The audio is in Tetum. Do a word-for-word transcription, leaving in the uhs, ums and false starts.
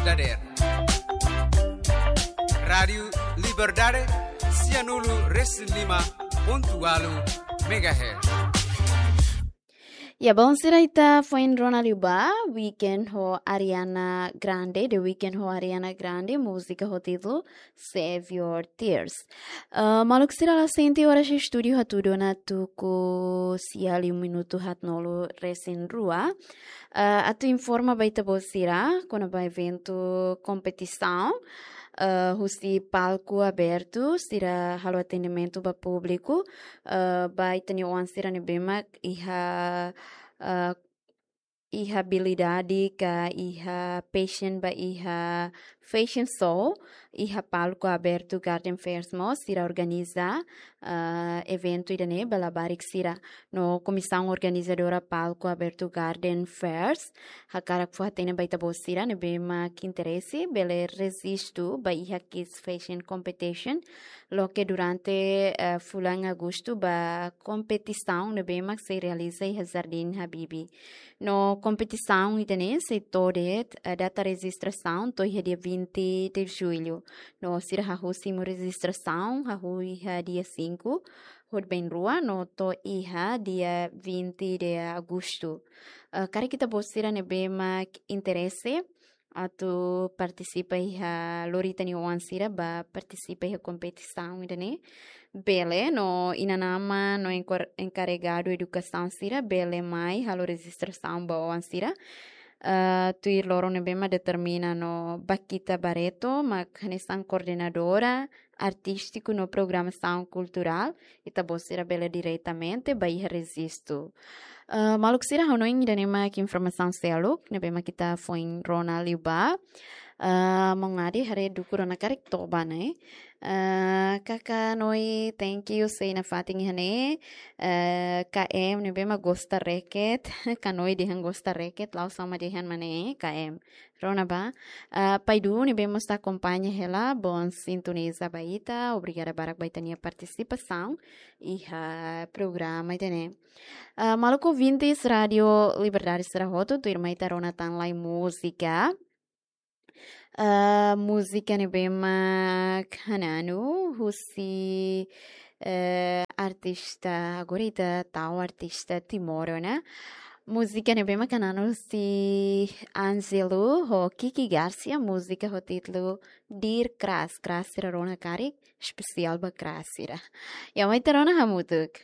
Dader. Rádiu Liberdade, sianulu resin lima pontu ualu megahertz. Ya, bon, sira, ita foin rona liu ba Weeknd ho Ariana Grande, The Weeknd ho Ariana Grande, múzika ho títulu Save Your Tears. Ah, maluk sira, la sente oras estúdiu hatudu ona tuku sia liu minutu haatnulu resin rua. Ah, atu informa ba ita-boot sira kona-ba eventu kompetisaun, ah, husi palku abertu, sira halo atendimentu ba públiku, ah, ba ita-nia oan sira ne'ebé mak iha, ah, iha abilidade ka iha passion ba iha fashion show, iha palku abertu Garden Fairs mós, sira organiza, ah, eventu ida-ne'e ba labarik sira. No komisaun organizadora palku abertu Garden Fairs hakarak fó-hatene ba ita-boot sira ne'ebé mak interese, bele rejistu ba iha Kids Fashion Competition, loke durante, eh, fulan Agostu ba kompetisaun ne'ebé mak sei realiza iha Jardín Habibi. No kompetisaun ida-ne'e sei to'o de'it, eh, data rejistrasaun to'o iha dia vinte de Julho. No sira hahú simu rejistrasaun, hahú iha dia cinco, hodi bainrua, no to'o iha dia vinte de Agostu. Eh, karik ita-boot sira ne'ebé mak interese atu partisipa iha, lori ita-nia oan sira ba partisipa iha kompetisaun ida-ne'e, bele, no inan-aman no enkor-, enkarregadu edukasaun sira bele mai halo rejistrasaun ba oan sira. Ah, tuir loron ne'ebé mak determina no Bakita Barreto mak hanesan koordenadora artístiku no programasaun kulturál, ita-boot sira bele diretamente ba iha rejistu. Ah, maluk sira, ha'u hanoin ida-ne'e mak informasaun seluk ne'ebé mak ita foin rona liu ba. Ah, maun Adi haree dukur ona karik toba ne'e. Ah, Kaka Noi, thank you, sei nafatin iha ne'e. Ah, K M ne'ebé mak gosta reket, Ka Noi dehan gosta reket, la'ós sama dehan mak ne'e, K M. Rona ba. Ah, Pai Du ne'ebé mós ita akompaña hela, bom sintoniza ba ita, obrigada barak ba ita-nia partisipasaun iha programa ida-ne'e. Ah, maluk ouvintes Rádiu Liberdade sira hotu, tuirmai ita rona tan lai múzika. Ah, múzika ne'ebé mak Hananu, husi, eh, artista, agora ita tau artista Timor ona. Múzika ne'ebé mak Hananu husi Angelo ho Kiki Garcia, múzika ho títulu Dear Crush, crush sira rona karik, espesiál ba crush sira. Ya, mai ita rona hamutuk.